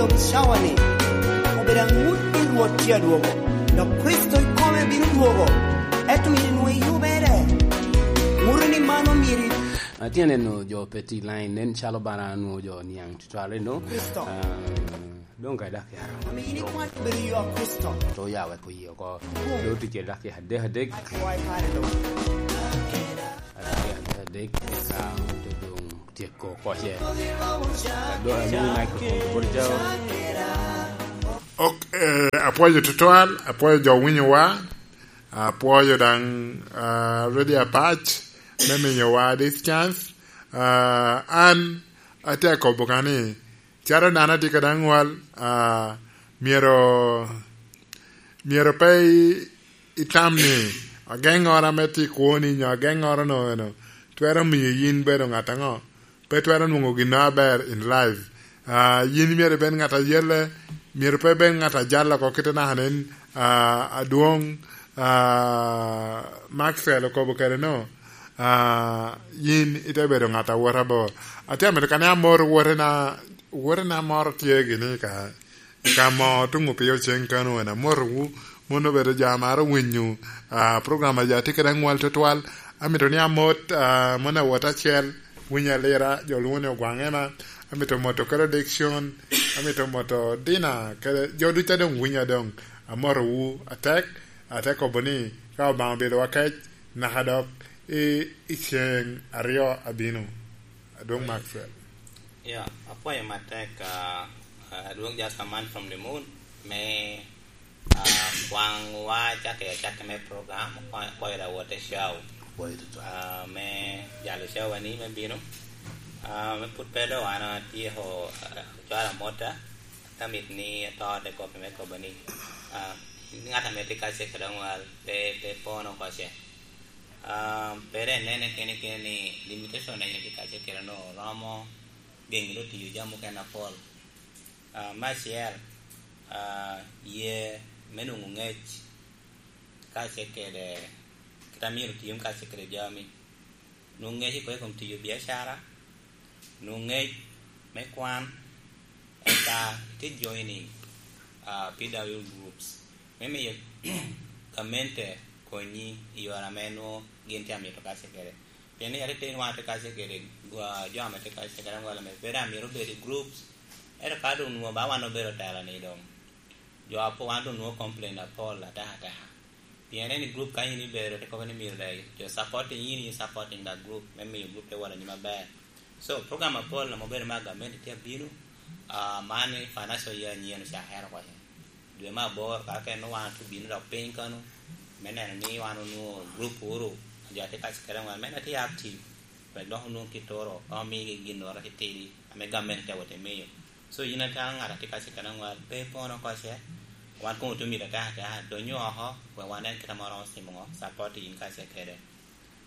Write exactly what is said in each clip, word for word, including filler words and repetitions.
Dok cawa-ni obedo aŋut pi Rwot tye adwogo, dok Kricito ikome bino dwogo, ento myero inwoŋ eyubere. Ŋuto ni mano myero i- Atye neno jo pe ti line, nen calo bara nwoŋo jo niaŋ tutwal eno. Kricito. Ah, doŋ ka dak yaro. Ame in ikwac bedo yo a Kricito. To ya wek oye oko. Doŋ ticce dak ya adek adek. Akwae kare doŋ. Adek adek, eka ote doŋ tyeko koce. Ado, ado microphone to bot jao. Ok, eh, apwoyo tutwal, apwoyo jo winyowa, apwoyo daŋ, ah, Radio Apac me miyowa this chance. Ah, an atye akobo ka ni, calo dano atye kede aŋwal, ah, myero, myero pe i-, itam ni ageŋŋoro ame tye i kwoni nyo ageŋŋoro no eno twero miyo yin bedo ŋat aŋo? Pe twero nwoŋo gin aber in life. Ah, yin myero ibed ŋat ayelle, myero pe ibed ŋat ajal oko kite naka nen, ah, adwoŋ, ah, Maxwell okobo kede no, ah, yin ite bedo ŋat awot abor. Atye amito kane amor wotena, wotena moro tye gini ka, ka mo tuŋ opio cen kano en amotowu, mon obedo jo a maro winyo, ah, program a jo atye kede aŋwal tutwal. Amito ni amot, ah, mon awot acel, winyo alira, jo lwongo ni Ogwaŋ Ema. Amito moto kede Dickson, amito moto Dina, kede jo ducu a doŋ winyo a doŋ. Amotowu atek, ate kobo ni ka Obaŋa obedowa kec, naka dok i, i ceŋ aryo abino. Adwoŋ Maxwell. Yeah, apwoyo matek, ah, ah, adwoŋ just a man from the moon, me, ah, kwaŋwa cake, cake me program, kwa-, kwayo da wote show. Kwayo tutwal. Ah, me jalo show ani me bino. Ah, me put pedo wan atyeko, ah, cwalo amota, ka mit ni ato te kopi me kobo ni, ah, ŋat ame tye kace kede aŋwal, pe, pe pono koce. Ah, pere nene kene kene ni limitation a yin itye kace kede no romo geni lo tiyo jami mukene apol. Ah, me acel, ah, ye me nwoŋo ŋec kace kede kit a myero otim kace kede jami. Nwoŋo ŋec i kom tiyo biacara, nwoŋo ŋec me kwan, eka ite joining, ah, P W groups, me miyo gamente konyi i yore ame nwoŋo gin tye amito kace kede. Pien ni yat iteni wan atye kace kede, ah, jo ame tye kace kede aŋwal ame pe daŋ myero obed i groups, ento ka doŋ nwoŋo ba wan obedo tela ni doŋ, jo apo wan doŋ nwoŋo complain apol ateka ateka. Pien en i group ka in ibedo, te kobo ni myero daŋ jo supporting in, in supporting the group, me miyo group te wot anyim aber. So, program apol ame obedo me gamente tye abino, ah, man i financial year anyen ocakere oko. Dwe me aboro, ka kene wan otye bino dok piny kano, me neno ni wan onwoŋo group uru, jo atye kace kede aŋwal, me en atye active, wek dok onwoŋo kit oro, ka omigi ginnoro titidi, ame gamente te wot te miyo. So, yin atye ŋat atye kace kede aŋwal, pe ipono koce, wan koŋ otye mito ateka ateka, donyo oko, wek wan en kit ame oromo timo ŋo, support yin kace kede.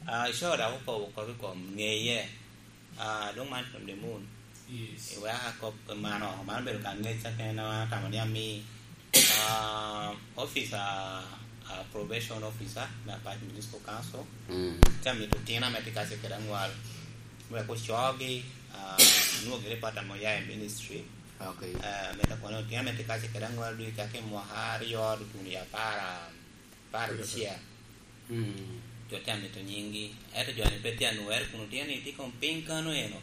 Ah, ico dok okobo kop i kom ŋeye. Ah, doŋ man from the moon. Yes. Iweka kop man oko, man obedo ka ŋec akene ame atamo ni ami, ah, officer, ah, probation officer me Apac Municipal Council. Mm. Te amito otino ame tye kace kede aŋwal, wek ocogi, ah, onwoŋo gire part amo ya i ministry. Okay. Ah, me ta kono otino ame tye kace kede aŋwal dwe cak i mwaka aryo tutuno i apar, apar abicel. Mm. Jo te amito nyinggi. Ento jo-ni pe tye anwoŋere kun otye ni tye kom piny kano eno.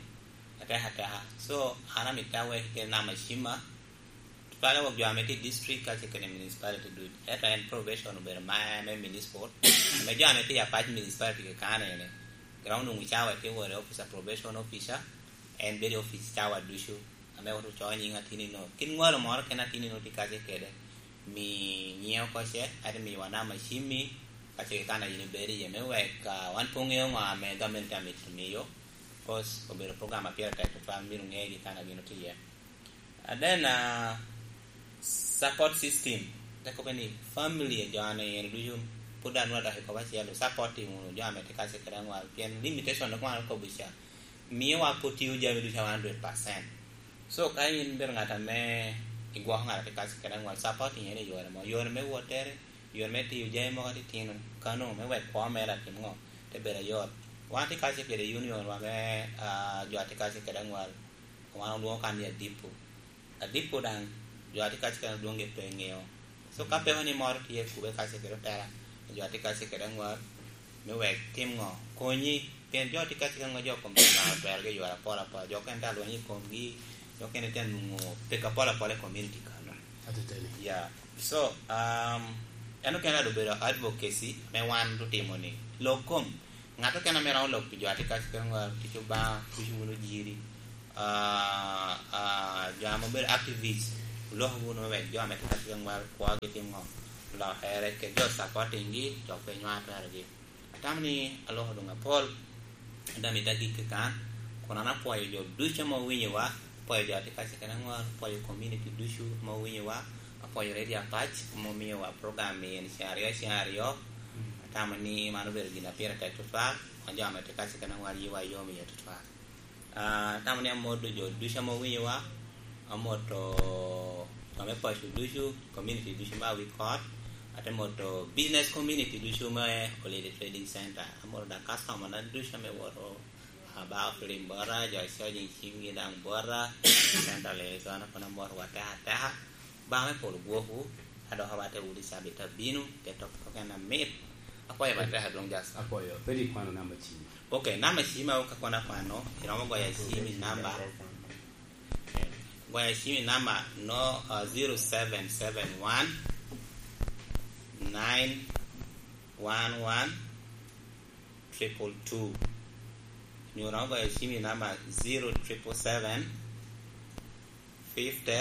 Ateka ateka. So, an amito awek kede namba cimma. Tutwale wok jo ame tye i district kace kede municipality duc. Ento en probation obedo ma me municipal. Ame jo ame tye i Apac municipality kekane ene. Ground onwoŋo cawa tye wore officer probation officer. En bedo i office cawa ducu. Ame wot ocoyo nying atinni no. Kit ŋolo moro kene atinni no tye kace kede. Mi nyiŋe oko ce, ate miwa namba cimmi, ka ce kekana yin ibedo iye, me wek, ah, wan pe oŋeo ŋo ame gamente amito miyo, 'cause obedo program a pire tek tutwal, myero oŋegi kekana gin otye iye. And then, ah, support system, te kobbe ni family jo ane yen ducu, pwod anwoŋo adok i kop acel, support wunu jo ame tye kace kede aŋwal, pien limitation dok wan okobo ca, miyo wa pwod tiyo jami ducu a one hundred percent. So, ka in bedo ŋat ame igwoko ŋat a tye kace kede aŋwal, supporting en i yore mo, yore me wottere, yore me tiyo jami mogo atitino, kano me wek kwo mere atim ŋo, te bedo ayot. Wan atye kace kede union wa me, ah, jo a tye kace kede aŋwal, wan olwoŋo kan ni Adipo. Adipo daŋ, jo a tye kacce kede adwoŋ-gi pe ŋeo. So, ka peko ni moro tye, kubbe kacce kede otela, jo a tye kacce kede aŋwal, me wek tim ŋo? Konyi, pien jo a tye kacce kede aŋwal, jo kom Lubanga otwerogi i yore apol apol. Jo okene tye alweny i komgi, jo okene tye anwoŋo peko apol apol i community kano. Ateteni. Yeah. So, um, en okene obedo advocacy ame wan otimo ni. Lok kom, ŋat okene ame romo lok pi jo a tye kacce kede aŋwal, tic Obaŋa, tic wunu jiri. Ah, ah, jo ame obedo activist, oloko wunu me wek jo ame tye ka tye ka ŋwalo kwogi timo lokere, kede jo supporting-gi, jo pe nywao twerogi. Atamo ni aloko doŋ apol, ento amito agik keken, kun an apwoyo jo ducu ame owinyowa, apwoyo jo a tye ka cikere aŋwal, apwoyo community ducu ame owinyowa, apwoyo Radio Apac ame omiyowa program ni en ceŋ aryo, ceŋ aryo. Atamo ni man obedo gin a pire tek tutwal, wan jo ame tye ka cikere aŋwal yiwa yom iye tutwal. Ah, atamo ni amoto jo ducu ame owinyowa, amoto jo me paco ducu, community ducu me Awikot, ate moto business community ducu me Olili Trading Center, amoto da customer na ducu ame woto aba opilim bota, jo a charging cimgi daŋ bota, Central Arizona kono amoto wa teka teka. Obaŋa me polo gwokwu, ka dok awatte wunu i cabit abino, keto kok en amit. Apwoyo matek adwoŋ Jasper. Apwoyo. Pwod ikwano namba cim? Ok, namba cim awo ka kono akwano, iromo goyo cim i namba. Goyo cim i namba no, uh, zero seven seven one, nine one one, triple two. Nyo iromo goyo cim i namba zero triple seven, fifty,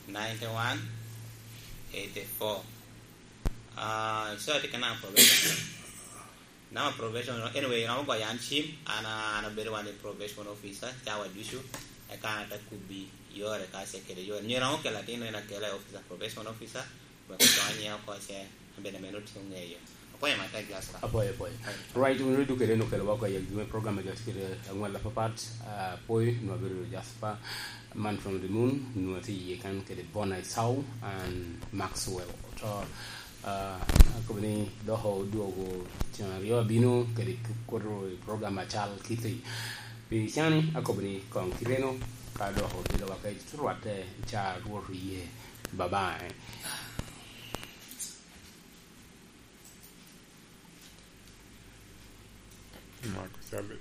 ninety-one, eighty-four. Ah, so atye ka namba probation. Namba probation, anyway, iromo goyo an cim, an, an abedo wan i probation officer, cawa ducu, eka an ate kubbi yore ka ce kede yore. Nyo iromo kelo atin en akela i officer, probation officer, wek oconye oko ce, an bene meno tye oŋeyo. Apwoyo matek, Jasper. Apwoyo, apwoyo. Right, wun oduke reno kelo wako i agikki me program a jo tye kede aŋwal apapat, ah, apwoyo, nwa bedo Jasper, man from the moon, nwa tye iye kan kede Bona Isau and Maxwell. To, ah, akobo ni dok odwogo cen aryo abino kede koto i program acal kiti. Pi cani, akobo ni kong kireno, ka dok obedo waka i rwatte ca Rwot oye. Bye bye. Mako cabe.